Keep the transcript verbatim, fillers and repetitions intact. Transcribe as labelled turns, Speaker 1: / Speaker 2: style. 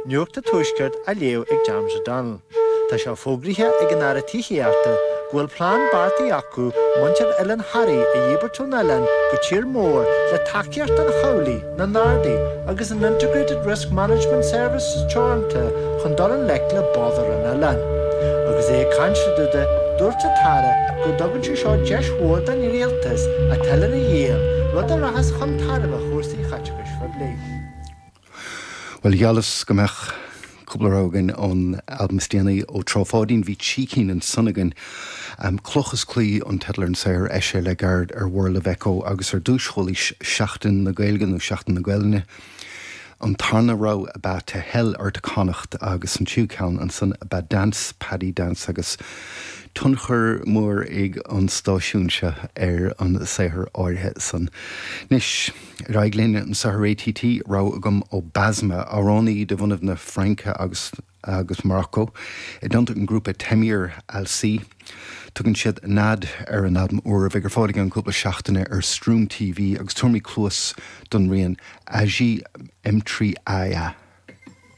Speaker 1: Nuacht an Tuaiscirt á léamh ag James O'Donnell. Tá sé fógraithe ag an Aire Tithíochta go bhfuil plean beartaithe acu muintir Oileán Thoraí a dhíbirt ón oileán go tír mór le tacaíocht an chabhlaigh, na nGardaí agus an Integrated Risk Management Services Teoranta chun dul i ngleic le bodhar an oileáin. Agus é ag caint le Dúda, dúirt an tAire go dtugann sé seo deis mhór don rialtas an t-oileán a dhíol, rud a rachas chun tairbhe chúrsaí chaiteachais phoiblí.
Speaker 2: Well gheallas go mbeadh cúpla rogha againn ón albam is déanaí ó Trá Pháidín bhí trí cinn ansan againn. Um, Cloch is Claí an teideal ar an saothar eisithe le gairid ar World of Echo agus ar dtús chualaís Seachtain na Gaeilge nó Seachtain na Gaelainne. An tarna rogha ab ea To Hell or to Connacht agus an tríú ceann ansan ab ea Dance Paddy Dance agus tionchar mór ag an stáisiún seo ar an saothar áirithe san. Anois ar aghaidh linn anseo ar ATT rogha agam ó Basma amhránaí de bhunadh na Fraince agus agus Morocco i dteannta an grúpa Temir Alsi. Tugann siad Nad ar an albam úr a bheidh ar fáil i gceann cúpla seachtaine ar Stream TV agus tabharfaimid cluas don rian Aji M trí AA.